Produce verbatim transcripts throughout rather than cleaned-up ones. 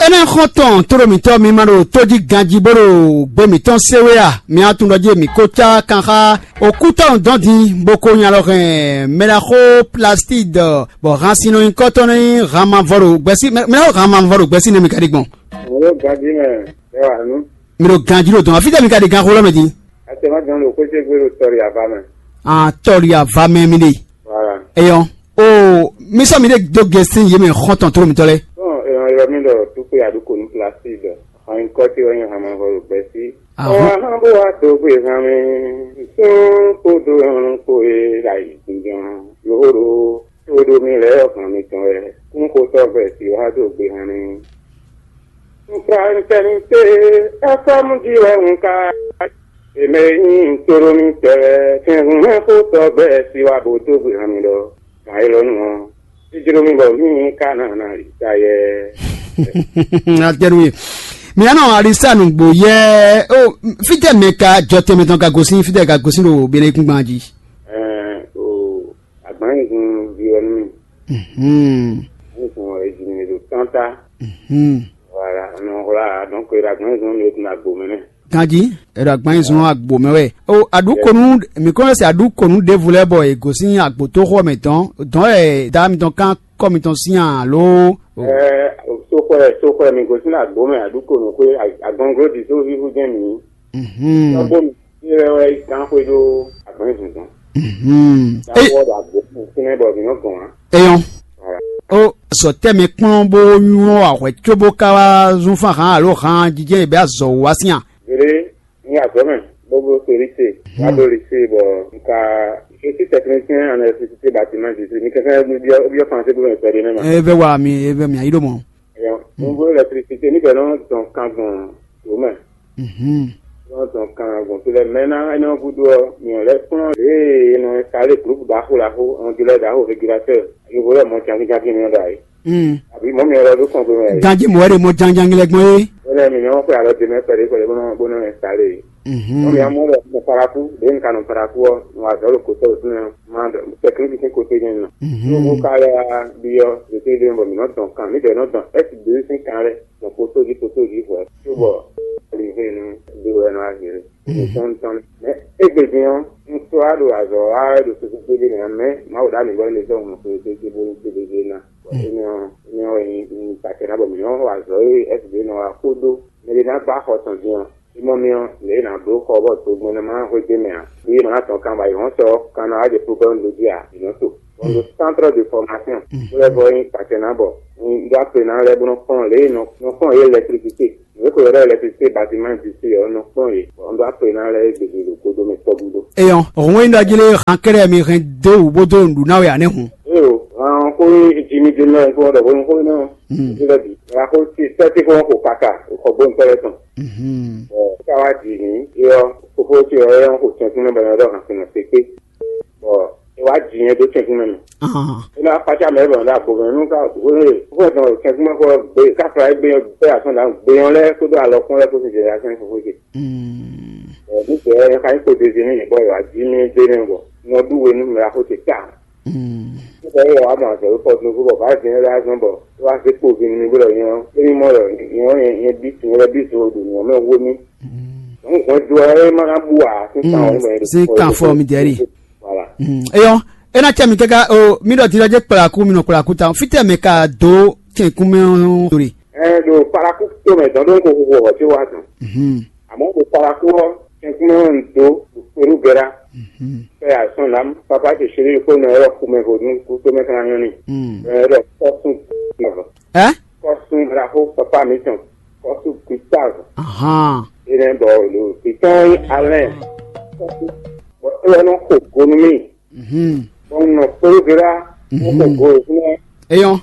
Énɛ́ xɔ́ntɔn tóɖo mǐtɔn mi ma ɖo tójí ganjí bó ɖo gbe mǐtɔn sé wé a? Mi atún ɖɔ jí mǐ ko cá kan xá okútɔ́ dɔn din bó ko nya lɔ hɛn mɛɖaxó plastide bɔ hansinɔ nyikɔtɔn ní han mavɔ ɖo gbɛsí mɛɖaxó han mavɔ ɖo gbɛsí nɛ mi ka ɖi gbɔn. Alo ganjí mɛ, ɛ wà nú. Mi ɖo ganjí ɖo dɔn afítɛ mi ka ɖi ganxó lɔ mɛ din. Atɛmá gan ɖo xwéjé gbé ɖo tɔri ava mɛ. Ah, tɔri ava mɛ mi ɖe. Voilà. Eyɔn. O, mi sɔ mi ɖe do gɛsin yé mɛ xɔntɔn tóɖo mitɔ lɛ. Bon, èèyàn yọ mí ɖɔ dúpẹ́ àdúkò ní plastique ɖɔ. Àwọn nǹkan tí wọ́n yàn hàn máa ń họrọ̀ gbẹ sí. Àwọn ahọ́n bó wá tó gbé hàn mí. Sún kó dó ọrùn kó e ra yìí gbìyàn. Yòhóró tó dó mi lẹ́ ọ̀gàn mi tán ẹ̀. Kún kó tọ́ gbẹ sí wá tó gbé hàn mí. Nka ntɛnite ɛfɛmu ji wɛ nka. Eme nyi ntoromi tɛwɛ kɛnhun mɛ ko tɔ bɛ si wa bo to gbe hàn mí ɖɔ. Kan e lɔ nu ɔ. Jijlo mi bɔ mi ka na na yi ta yɛ. Atɛnu ye. Mi anɔ alisa nugbo yɛ. O, fitɛ mɛ ka jɔ tɛmɛ tɔn ka gosin fitɛ ka gosin ɖo bene kungban ji. Ɛɛ o agbanyigun vi wɛ nu mi. Mhm. Agbanyigun ɔ ejimi ɖo tanta. Mhm. Voilà, nɔ hla donc e ɖo agbanyigun mi ɖo agbo mɛ nɛ. Ganji, e ɖo agbanyigun agbo mɛ wɛ. O aɖukonu mi kɔn se aɖukonu ɖevu lɛ bɔ e gosin agbotoxo mɛ tɔn dɔn e da mitɔn kan kɔ mitɔn sin alo. Ɛɛ soxɔɛ soxɔɛ mi gosin agbo mɛ aɖukonu xwe agɔnglo di so vivu jɛ mi. Mhm. Tɔgbo mi yɛ wɛ gan xwe ɖo agbanyigun dɔn. Mhm. Gan wɔ ɖo agbo fún ɛ bɔ mi nɔ gɔn wa. Eyɔn. Voilà. O sɔ tɛ mi kplɔn bó nywɔ ahwɛ tso bó ka wá zún fán hàn alo hàn jíjẹ yě bɛ azɔ wá sín a. Gbeɖé ní azɔ̌ mɛ bó bló so lycée wá dó lycée bɔ n ka je suis technicien en électricité bâtiment district mi kɛkɛ mi byɔ́ byɔ́ français bó mɛ pɛɖé nɛ ma. E vɛ wa mi e vɛ mi ayi ɖo mɔ. Ɛyɔ nuvó électricité ní bɛ nɔ dɔn kan gbɔn tó mɛ. Mhm. Nɔ dɔn kan gbɔn tó lɛ mɛ ná ɛnɛ gúdo ɔ mi ɔ lɛ kplɔn lě e nɔ installé groupe ɖaxó ɖaxó onduleur ɖaxó régulateur yovo lɛ mɔ jankinjankin mi ɔ ɖo ayi. Mm. Àbí mɔmì ɔlɔ ló kàn gbé mɛ. Ganji mɔ wɛ de mɔ janjangi lɛ gbɔn ye. Wọ́n mi ní wọ́n pẹ́ àlọ́ dèmẹ́ pẹ̀lú pẹ̀lú bọ́n bọ́n ẹ̀ sáré. Mhm. Mɔmì amú lọ mo paraku, de nǹkan nù paraku ɔ, mo wà dọ́lù kò tọ́ òtún náà, máa dọ̀ tẹkíníkì sí kò tẹ́ yẹn nà. Mhm. Mo mo ka lẹ bí yọ, lè tẹ́ dé bọ̀ mí nà dàn kan, níbẹ̀ nà dàn, ẹ̀ sì dé sí kan rẹ̀, dàn kótó jí kótó jí hùwẹ́. Tó bọ̀, lè hé nu, dé wẹ́ nà á hé rẹ̀. Mhm. Tɔn tɔn. Mɛ égbé din ɔ́, un sɔ́ wá ɖo azɔ̌ wa wɛ ɖo susu kpéɖé mɛ ǎ, mɛ Mawu ɖo ami gɔ́ émí zɔ́n mɔ xwé gbégbé bónú kpéɖé ná. Bɔ énɛ́ ɔ́, énɛ́ ɔ́ wɛ nyí un ta acɛ ná bɔ mǐ nɔ́ wa azɔ̌ e S B nɔ wa kpódó mɛɖé ná gbá xɔ tɔn din ɔ́. É mɔ mì ɔ́, lě e è nǎ bló xɔ bɔ togbɛ́nɛ́ ma hwedó mɛ ǎ. Bí é ma ná tɔn kan bɔ ayǐhɔ́n sɔ kan ná wá jɛ problème ɖó jí ǎ, è nɔ́ to. Bɔ un ɖo centre de formation, bó lɛ́ vɔ nyí ta acɛ ná bɔ un ɖó akpe ná lɛ́ bó nɔ́ kplɔ́n lě e nɔ nɔ kplɔ́n yě électricité. Nǔ e ko ylɔ́ ɖɔ électricité bâtiment d'ici ɔ́ nɔ kplɔ́n yě, bɔ un ɖó akpe ná lɛ́ gběgbé ɖo kódó mɛ tɔgúdó. Eyɔn, hɔn e ɖɔ jí lé han kɛ́ɖɛ́ mi hɛn dó wǔ bó dó nǔɖuɖu ná wɛ ǎ nɛ́ hun. Éyo, han xó e Jimmy Donnell kó ɖɔ bónú xó énɛ́ ɔ́, jí lɛ́ bǐ. Wala xó tí sɛ́tí xó xo kaka xɔ gbóntɔ́ lɛ́ɛ tɔn. Bɔ ká wá dǐ ní, é ɔ́, fofó ce ɔ́, é ɔ́ xo tɛnkún nɛ́ bɔ é nɔ ɖɔ han sinɔ sekpé. Bɔ é wá jǐ nyɛ dó tɛnkún mɛ mɛ. Ahan. É ná kpácá mɛ bɔ ná agbo mɛ nú ká wéwé fún ɛ̀tàn tɛnkún mɛ kɔ gbé káfla é gbé bɛ́ asɔ́n dǎ gbé ɔ́ lɛ́ɛ kpódó alɔkún lɛ́ɛ kpó sin jɛ asɛn fofó ce. Mm. Ɛ ní sɛ ɛ ka nyí kpodezi ní yě bɔ yě wá jí mì dé nɛ bɔ nɔ ɖú we nú mɛ axó ce ta. Mm. Nípa yě wá mɔ azɔ̌ kɔ dúnú bɔ bá zin lɛ́ azɔn bɔ é wá zé kpo vin nú bó ɖɔ nyɛ ɔ́ é ní mɔ ɖɔ nyɛ ɔ́ nyɛ bí sin lɛ́ bí sin ɖo nyɛ mɛ wó mì. Mm. Dɔ̌n hwɛndo ɔ́ é ma ná bú ǎ sín kan ɔ́ ní bɔ nyɛ ɖo sí kan fɔ mi dɛ̌ ɖi. Voilà. Mm. Eyɔn, ena cɛ mi kaka o mi ɖɔ ti ɖɔ dze kplaku mi nɔ kplaku ta fitɛ mɛ ka do tɛnkun mɛ ɔ́ ɖo ɖe. Ɛ ɖo paraku to mɛ dɔn ɖo ko ko wɔ ti wa dɔn. Mhm. Àmọ́ ɖo paraku ɔ́ tɛnkun mɛ ɔ́ do kpelu gɛra. Mhm. Fɛ asɔn lam papa ti siri ko nɔ yɔrɔ kumɛ ko dun ko to mɛ kana nyɔ ni. Mm. Ɛ ɖɔ kɔsun nɔ. Ɛ? Kɔsun raxo papa mi tɔn kɔsun Gustave. Ahan. Ene bɔ lo pitɔn yi alɛ. Bɔ eyɔ nɔ xo gonu mi. Mhm. Bɔn nɔ kpolo gera. Mhm. Nɔ xo go fúnɛ. Eyɔn.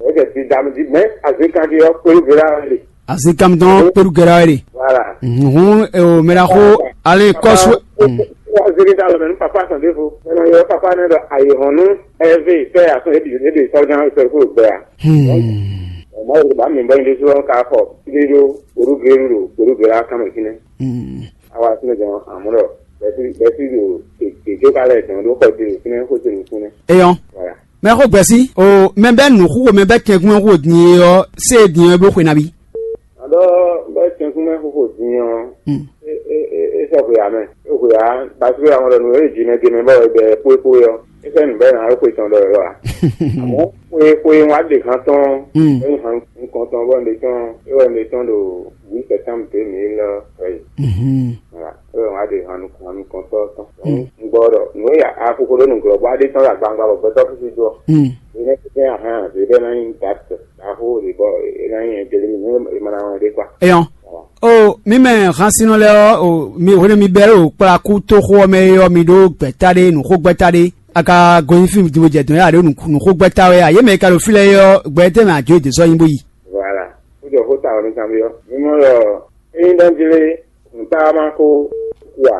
Ɛsɛ ti dami di mɛ azekan di yɔ kpolo gera le. Azekan mi dɔn kpolo gera le. Voilà. Mhm. Hun o mera xo ale kɔsu. Aziri da lɔ mɛ nu papa sɔn de fo. Ɛnɔ yɔ papa ne dɔ ayi hɔn nu ɛvɛ fɛ asɔn ebi ebi sɔjan sɔrɔ kó gbɛ ya. Hmm. Ɔmɔ yɛrɛ bá mi bɔ yin de sɔ ka fɔ. Ibi do orúkọ èrú do orúkọ èrú akamẹ kínní. Hmm. Awa sinmi jɔn àmúlò bẹsí bẹsí do kèké kalẹ̀ jɔn do kɔ ti do kínní kó ti do kínní. Eyɔn. Voilà. Mɛ xo gbɛsi o mɛ bɛ nu xo mɛ bɛ kɛnkun xo din ɔ se din ɔ blo xwe nabi. Ɔ́, bɔ tɛnkunmɛ xóxó din ɔ́, é é é é sɔ́ hwe ǎ mɛ. É hwe ǎ, paseke àwọn ɖɔ nǔ e jǐ mɛ gěmɛ bɔ è bɛ xwéxwé ɔ́, é fɛ́ nǔ bɛ́ ná é xwe tɔn ɖɔ ɔ́ ǎ. Àmọ́ xwéxwé wá ɖe han tɔn, é han nukɔn tɔn bɔ un ɖe tɔn é wɛ un ɖe tɔn ɖo huit septembre deux mille treize. Voilà. É wɛ wá ɖe han nukɔn han nukɔntɔ́ tɔn. Un gbɔ ɖɔ nǔ e ya axoxo ɖó nǔglɔ́ bɔ aɖe tɔn ɖo agbawungba bɔ gbɛtɔ́ fífí dó ɔ́, é nɛ́ tɛ́n ahan ǎ, zě bɛ́ ná nyí dǎt. Ɖaxó ɖě bɔ é ná nyí ɛjɛlí nǔ e è ma ná wɛn ɖé kpa. Eyɔn. O mi mɛ hansinɔ lɛ́ɛ ɔ́, o mi hwenu mi bɛ́ ɖo kplakú tóxó ɔ́ mɛ é ɔ́, mi ɖó gbɛ̌ta ɖé, nǔxógbɛ́ta ɖé. A ka gɔn nyi fí din bó jɛ dɔ̌n yá ɖě nǔxógbɛ́ta wɛ a? Yě mɛ e ka ɖo fí lɛ́ɛ é ɔ́, gbɛ tɛ́ mɛ a jǒ yě dó sɔ́ nyi bó yi? Voilà. Kó jɔ xó ta ɔ́ nú kanbyɔ́. Mi mɔ ɖɔ ényí ɖɔ jí lé, nǔ ta ma ko ku ǎ.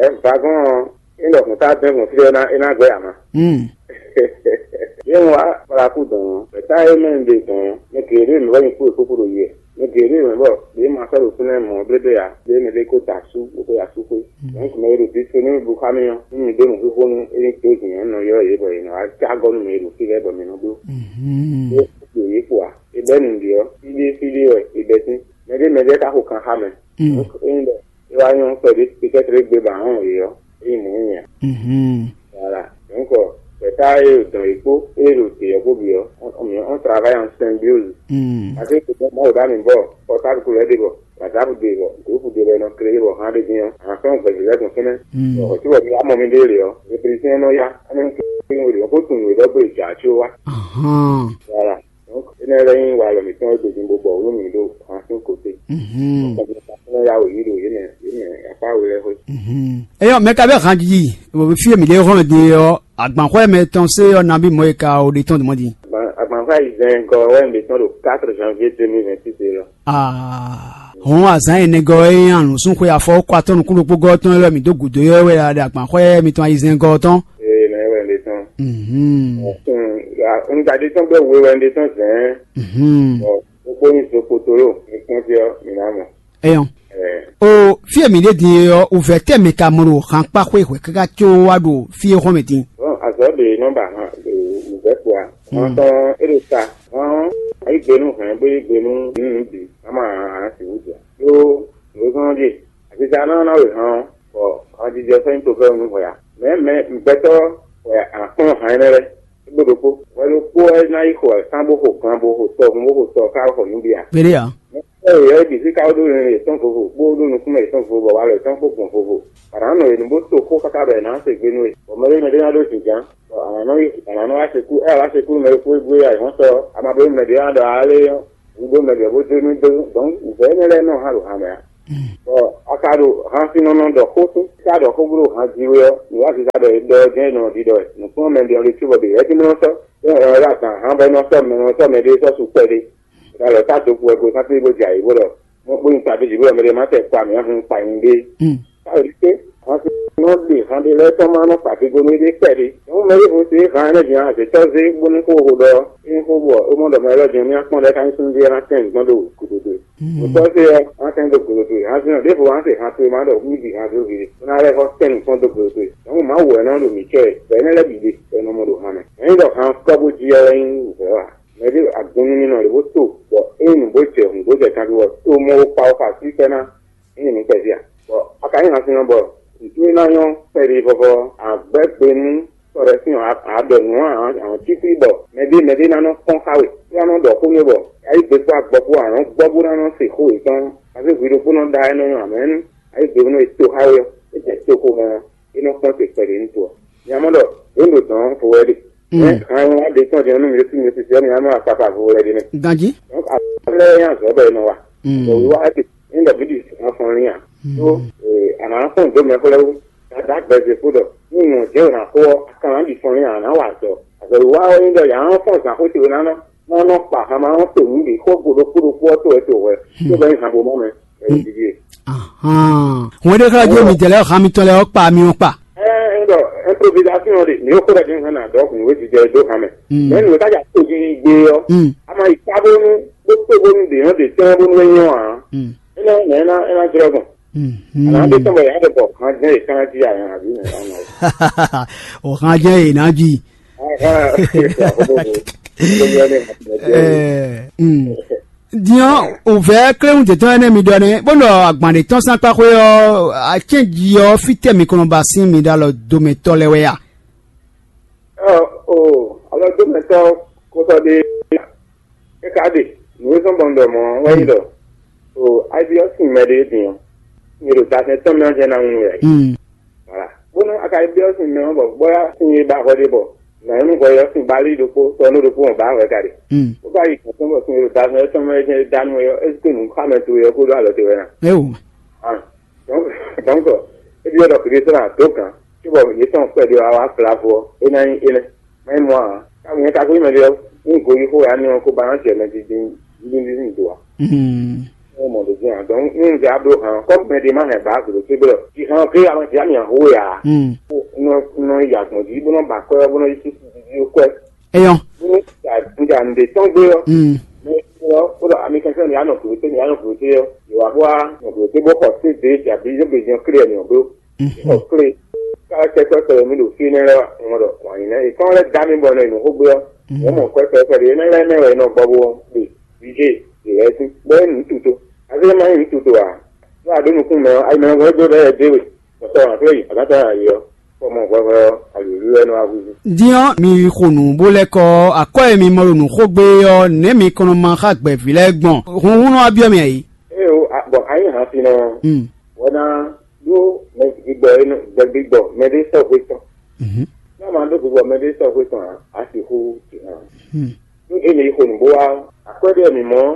Ɛ vagɔn ɔ́, é ɖɔ hǔn tá dɛn gbɔn fí é ná é ná gbɛ ama. Yě wá kplakú dɔn ɔ́, gbɛ̌ta e mɛ un ɖe dɔn ɔ́, mɛ geɖé mɛ wɛ nyi kpó e kúkú ɖo yɛ. Mɛ geɖé mɛ bɔ ɖě ma sɔ́ ɖo fínɛ́ mɔ̌ blébé ǎ, ɖě mɛ ɖé ko da asú bó ko yi asúxwé. Donc mɛ e ɖo disponible xá mì ɔ́, nú mi ɖó nǔxíxó nú é ní dó zǐn ɔ́, nɔ ylɔ́ yě bɔ yě nɔ wá cá gɔ́ nú mɛ e ɖo fí lɛ́ɛ bɔ mǐ nɔ bló. Ɖó ɖo yě kpo ǎ. È bɛ́ nǔɖé ɔ́, fí ɖé fí ɖé wɛ è bɛ́ sín. Mɛ ɖé mɛ ɖé ka xo kan xá mɛ. Donc ényí ɖɔ é wá nyɔ́ kpɛɖé, peut-être égbé ba hɔn yě ɔ́, é nyí mɔ̌ nyɛ. Voilà. Donc gbɛ̌ta e dɔn yě kpó é ɖo te ɔ́ kpó bǐ ɔ́, on, on, on travaille en symbiose. Parce que c'est bon, moi, au-delà, mais bon, portable couleur de bon, WhatsApp de bon, groupe de bon, créé bon, hein, de bien, enfin, on peut dire qu'on fait, bon, tu vois, il y a un moment donné, hein, le président, non, il y a un moment donné, on peut tout nous, donc, tu vois. Voilà. Donc énɛ́ lɛ́ɛ nyí walɔ mǐtɔn e gbejin bó bɔ wǔ nú mǐ ɖo han sín kote. Kɔmpitasɔn ya wǒ yí ɖo yě mɛ yě mɛ akpá we lɛ́ɛ xwé. Eyɔ́, mɛ ka bɛ́ han jiji fí e mǐ ɖe hɔn din é ɔ́, agbanxwɛ mɛ tɔn sé ɔ́ nabí mɔ̌ e ka o ɖe tɔn dɔmɔ̌ din? Agbanxwɛ ayizɛ́n gɔ́ wɛ mǐ ɖe tɔn ɖo quatre janvier deux mille vingt-six é lɔ. Hɔn azǎn ɛnɛgɔ́ e nyi anǔsúnxwe afɔ kɔ atɔ́ nukún ɖokpó gɔ́ tɔn élɔ́ mǐ dó gǔdo é wɛ ɖo agbanxwɛ mitɔn ayizɛ́ngɔ́ tɔn. Ee, mɛ wɛ un ɖe tɔn. Un da ɖe tɔn gbɛ we wɛ un ɖe tɔn zɛ̌n. Bɔ gbogbo nyi zo kpotolo mi kpɔ́n fí ɔ́, mi ná mɔ. Eyɔn. O fí e mǐ ɖe din é ɔ́, wǔvɛ́ tɛ́ mɛ ka mɔ ɖo hankpáxwé hwɛ̌ káká có wá ɖo fí e hɔn mɛ din? Bɔn azɔ̌ ɖe nɔ ba han ɖo wǔvɛ́ kpo a? Hɔn tɔn é ɖo ta. Hɔn ayǐ gbe nú hɛn bó yí gbe nú nǔ bǐ, a ma hǎn sixú jɛ. Ɖó nǔ e zɔ́n ɔ́ ɖíe, aziza ná ná wě hán ɔ́, bɔ hanjijɛ sɔ́ nyí tofɛ́ nú hwɛ ǎ. Mɛ̌ mɛ gbɛtɔ́ wɛ a kplɔ́n hǎn énɛ́ lɛ́ɛ? É gbe ɖokpó. Hwɛ ɖokpó wɛ ná yi xo wɛ̌kán bó xo gan bó xo tɔhun bó xo tɔ ká xɔ nǔ bǐ ǎ. Kpéɖé ǎ. Mɛ yɔ̌yɔ́ bǐ sí ká ɖó nǔ yětɔn vovo, bó ɖó nukúnmɛ yětɔn vovo, bɔ walɔ yětɔn kpó gbɔn vovo. Bɔ a nǎ nɔ yě nu bó to xó káká bɔ è nǎ se gbe nú we. Bɔ mɛ ɖé mɛ ɖé ná ɖó jǐnján, bɔ a nǎ nɔ yi a nǎ nɔ wá se kú, ée a wá se kú nú mɛ e kú é gbé ǎ, è hɔn sɔ, a ma bló mɛ ɖě ná ɖɔ ǎ lé ɔ́. Wǔ ɖó mɛ ɖě bó dó nú dó, dɔ̌n vɛ̌ énɛ́ lɛ́ɛ nɔ hán ɖo han mɛ ǎ. Bɔ a ka ɖo han sín nɔ nɔ ɖɔ xó sín, ká ɖɔ xó bló han jí wé ɔ́, nǔ wá sisa ɖɔ è ɖɔ ɔ́ jɛ́n è nɔ ɖiɖɔ wɛ. Nǔkplɔ́nmɛ ɖě ɔ́ ɖésú bɔ ɖě wɛ jí nɔ sɔ́, é nɔ ɖɔ azǎn hán bɔ é nɔ sɔ́ mɛ nɔ sɔ́ mɛ ɖé sɔ́ su kpɛɖé. Ɖo alɔ tá do kú wɛ go sátú bó jɛ ayǐ bó ɖɔ mɔ bó nyi taví jǐ bó ɖɔ mɛ ɖé má tɛ kpa mǐ ahun kpa nyi ɖé. Káyọ̀ ɖíké, wọ́n ti nɔ ɖe han ɖé lɛ́ɛ tɔn ma nɔ kpa vigo nú éɖée kpɛɖé. Nyɔ̌nu mɛ ɖěvo se é han énɛ́ din azětɔ́ zé bónú xó xo ɖɔ é nyí xó bɔ é mɔ ɖɔ mɛ élɔ́ din ɔ́, mì akpɔ́n ɖɛ́ ká nyí súnnu ví ɔ́ ná tɛ́n nǔ gbɔn ɖo gǔdo towe. Nǔtɔ́ se ɔ́, wọ́n tɛ́n dó gǔdo towe. Hanzin ɔ́, ɖěvo wọ́n se han towe ma ɖɔ mì ɖi han dó vi ɖé, bó ná lɛ́ xɔ tɛ́n nǔ kpɔ́n dó gǔdo towe. Nyɔ̌nu Mawu wɛ nɔ ɖo mǐ cɛ wɛ, bɔ énɛ́ lɛ́ɛ bǐ ɖe bɔ è nɔ mɔ ɖo han mɛ. Nyɛ nyí ɖɔ han kɔ́ bó jí ɔ́ wɛ nyí nǔvɛ́ ǎ. Mɛ ɖé agun nú mì nɔ ɖě bó to, bɔ ényí nǔ bó jɛ hǔn bó jɛ kanví bɔ to mɔ wo kpa wo xɔ así kpɛ́ ná. Ényí nǔ kpɛví a? Bɔ a ka nyí hansinɔ bɔ nǔtú e ná nyɔ́ kpɛɖé vɔvɔ a gbɛ́ gbe nú tɔ ɖɛ̌ sín ɔ́, a ɖɔ nǔ ɔ́, a nɔ cí xwí bɔ mɛɖé mɛɖé ná nɔ kpɔ́n xá we, bó ná nɔ ɖɔ xó nú we bɔ a yí gbe kpó agbɔ kpó a nɔ gbɔ bó ná nɔ se xó yětɔn. Azé hwi ɖokpó nɔ ɖa é nɔ nyɔ amɛ̌nu, a yí gbe nú e to xá we ɔ́, é jɛ to xomɛ ɔ́, é nɔ kpɔ́n te kpɛɖé nú to ɔ́. Nya mɔ ɖɔ yě ɖo dɔ̌n vo wɛ ɖe. Han wá ɖe tɔn jɛ nú mi ɖésú mi ɖésú mi ná nɔ akpakpa vo wɛ ɖe nɛ. Ganjí. Donc afɔ lɛ́ɛ nya zɔ̌ bɔ è nɔ wa. Bɔ wíwá ɖe ní ɖɔ bíbí afɔn ní a. Tó àná kpɔn dó mɛ xó lɛ́ɛ wú. Dada gbɛzɛ kó ɖɔ ní nɔ jẹ́ ònà xó ɔ́, kan ná ɖi fɔn ní a ná wa azɔ. Azɔ wíwá ɔ́ ní ɖɔ yà ná fɔn zǎn xó ce wé ná nɔ. Má nɔ kpa hama ɔ́ to nǔ ɖě xó go ɖokpó ɖokpó ɔ́ to wɛ to wɛ. Tó bɛ ní han bo mɔ mɛ. Ɛ yí didi. Hɔn ɖé xlɛ́ jó mi dɛ̌ lɛ́ɛ han mitɔn lɛ́ɛ ɔ́ kpa mi ɔ́ kpa. Ɛ ɛ ɖɔ improvisation ɖe, mi ko ɖe din hana dɔ kun we jijɛ do hame. Mɛ nu ka ja to ji gbe ɔ. Ama yi ka bonu, bo to bonu de no de tɛn bonu we nyɔ a. Ena na ena ena jrɔ gbɔn. Ana de tɔn bɔ ya de bɔ han jɛ yi kan ji a yan abi na. O han jɛ yi na ji. Aha. Ko ko ko. Ko yɔ ne. Ɛ. Din ɔ́, wǔvɛ́ kléwún jětɔn énɛ́ mi ɖɔ nɛ́, bó ɖɔ agban ɖě tɔn sín akpáxwé ɔ́, acɛ́nji ɔ́, fítɛ́ mi kɔn nɔ ba sín mi ɖo alɔ domɛtɔ́ lɛ́ɛ wɛ a? Ɔ, o, alɔ domɛtɔ́ kótɔ́ ɖé é ka ɖe. Nǔ e zɔ́n bɔ un ɖɔ mɔ̌ wɛ nyí ɖɔ, o, ayi ɔ́ sin mɛ ɖé din ɔ́, sin e ɖo dazɛn tɔn mɛ ɔ́ jɛ́n ná ŋu wɛ. Voilà. Bónú a ka yi byɔ́ sin mɛ ɔ́ bɔ bóyá sin e ba hwɛ ɖé bɔ nǎ nyɔ́ nú hwɛ ɔ́ sín bali ɖokpó tɔnu ɖokpó hɔn bǎ hwɛ ka ɖe. Bó ka yi gǔn tɔn bɔ sin e ɖo dazɛn tɔn mɛ jɛ́n danu wɛ ɔ́, é zú nǔ xá mɛ towe ɔ́ kúdó alɔ towe ná. Éwo. Ah, donc, donc, é byɔ́ ɖɔ Kristo ná dó gǎn, cóbɔ yě tɔn kpɛɖé wá wá fla fó ɔ́, é ná nyí énɛ́. Má nyí mɔ̌ ǎ. Ká nyɛ ka kó nyí mɛ ɖé ɔ́, nyí goyíxó wɛ á nɔ ko ba ná jɛ mɛ dídí dídí do ǎ. Ɔ́ mɔ ɖo dín ǎ. Donc, ní un jɛ abló hǎn, kɔ́ mɛ ɖé má hɛn bǎ gǔdo cé blɔ. Jǐ hǎn ké a ma jǐ ami ahó wɛ ǎ. Nɔ nɔ yi agbɔ̌n jí bó nɔ ba kɔ́ bó nɔ yi sísí dídí kwɛ. Eyɔn. Bó nɔ ja ja nǔɖé tɔn gbé ɔ́. Mɛ ɔ́, ó ɖɔ ami kɛntɛ́ mi anɔ gǔdo té, mi anɔ gǔdo té ɔ́. Yǒ wá bó wá nɔ gǔdo té bó xɔ sé dě jɛ abǐ yó gbe jɛn klé ɛ mi ɔ́ bló. Xɔ klé. Ká tɛ kpɛkpɛ mi ɖo fí nɛ́ lɛ́ɛ wá, un ɖɔ wǎn nyí nɛ́. È kán lɛ́ dá mi bɔ nɔ yi nǔ xó gbé ɔ́. Wọ́n mɔ kpɛkpɛ kpɛɖé énɛ́ lɛ́ɛ mɛ wɛ è nɔ gbɔ bó ɖe vǐ ce ɖě lɛ́ɛ sín. Bɔ é nǔ tuto. Azé má nyí nǔ tuto ǎ. Ɖó a ɖǒ nukún mɛ ɔ́, ayi mɛ ɔ́ ɖó ɖɛ́ ɖé we. Bɔtɔ ǎ fɛ yi, a nǎ ta yi ɔ́, kɔ mɔ hwɛhwɛ ɔ́, alǐlí wɛ nɔ wá húzú. Din ɔ́, mi xo nǔ bó lɛ́ kɔ ɔ́, akwɛ́ e mi mɔ ɖo nǔ xó gbé ɔ́, nɛ̌ mi kɔn nɔ ma xá gbɛ̌ví lɛ́ɛ gbɔn? Hunhun nɔ wá byɔ́ mi ǎ é. Ée o, a- bɔ a nyí hansinɔ ɔ́, wɛ ná ɖó mɛ gbigbɔ e nɔ gbɛ gbigbɔ mɛ ɖé sɔ́ hwe tɔn. Ná ma ɖó gbigbɔ mɛ ɖé sɔ́ hwe tɔn ǎ, a sixú ti hàn. Ɖó e mi yi xo nǔ bó wá ɔ́, akwɛ́ ɖé mi mɔ ɔ́,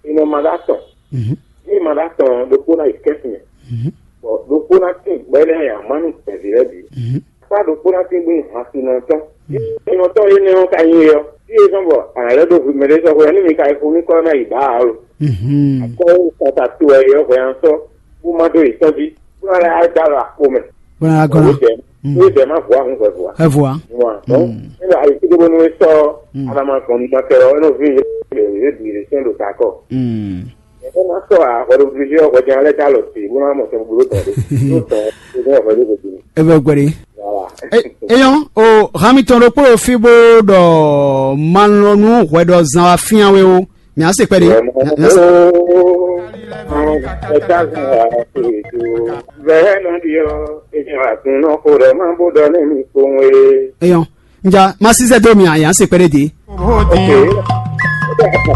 e nɔ ma ɖó atɔn. Ní ma ɖó atɔn ɔ́, ɖokpó ná yi kɛ́sin mɛ, bɔ ɖokpó ná tín gbɛ́ lɛ́ɛ ya má nú gbɛ̌ví lɛ́ɛ bǐ. Akpá ɖokpó ná tín gbé hansinɔ tɔn. Hansinɔ tɔn énɛ́ ɔ́ ka nyí é ɔ́, fí e zɔ́n bɔ a nǎ lɛ́ ɖó hwi mɛ ɖé sɔ́ hwɛ ɔ́, nú mi ka yi xo mì kɔ ná yi bǎ ǎ lo. Akɔ́ e kata to wɛ é ɔ́ hwɛ ná sɔ́, bó má ɖó yě tɔn jí, bó ná lɛ́ á dó alɔ akpo mɛ. Bó ná gɔ́n. Wědɛɛ wědɛɛ má vɔ̌ ahun hwɛ̌ vɔ̌ ǎ. Ɛ vɔ̌ ǎ. Wǎn dɔn, é ɖo ayǐkúngbe bónú é sɔ́ alama gbɔn nukɔn kɛ ɔ́, é nɔ ví yě bǐ yě sɛn ɖo ta kɔ. Ɛ má sɔ́ ǎ, hwɛɖobǔ ɔ́ hwɛjɛ́n lɛ́ɛ dó alɔ ce bó ná mɔ tɔn gbló tɔn ɖé. Yóò tɔn é ní hwɛ lóko dó. Ebe gbɛɖe. Voilà. Eyɔn o, hami tɔn ɖokpó ɖo fí bó ɖɔ malɔnu hwɛ ɖɔ zan wa fían we o. Mǐ á se kpɛɖé. Mǐ á se- Vɛ̌nɔ ɖi ɔ́, ènìyàn àgùn náà kó ɖɔ má bó ɖɔ ní mi kpowun é. Eyɔn, nja ma sísɛ dó mi a, yǎ se kpɛɖé dé. Ok.